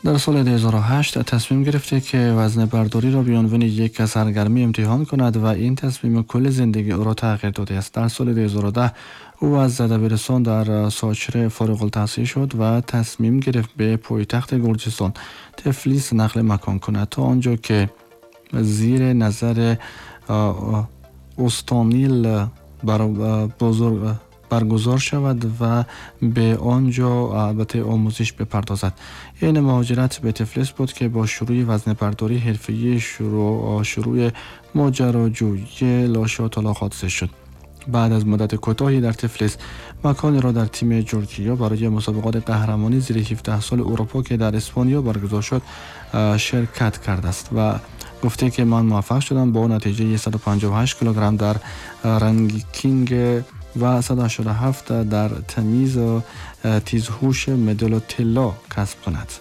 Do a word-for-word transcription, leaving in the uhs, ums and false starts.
در سال دو هزار و هشت تصمیم گرفته که وزنه برداری را به عنوان یک سرگرمی امتحان کند و این تصمیم کل زندگی او را تغییر داده است. در سال دو هزار و ده او از دبیرستان در ساچره فارغ التحصیل شد و تصمیم گرفت به پایتخت گرجستان تفلیس نقل مکان کند تا آنجا که زیر نظر استانیل بزرگ برگزار شود و به آنجا البته آموزش بپردازد. این مهاجرت به تفلیس بود که با شروع وزنه برداری حرفه‌ای شروع، شروع ماجراجویی لاشا تالاخادزه شد. بعد از مدت کوتاهی در تفلیس مکانی را در تیم جورجیا برای مسابقات قهرمانی زیر هفده سال اروپا که در اسپانیا برگزار شد شرکت کرده است و گفته که من موفق شدم با نتیجه صد و پنجاه و هشت کیلوگرم در رنکینگ و صد و هشتاد و هفت در تمیز و تیزهوش مدال طلا کسب کند.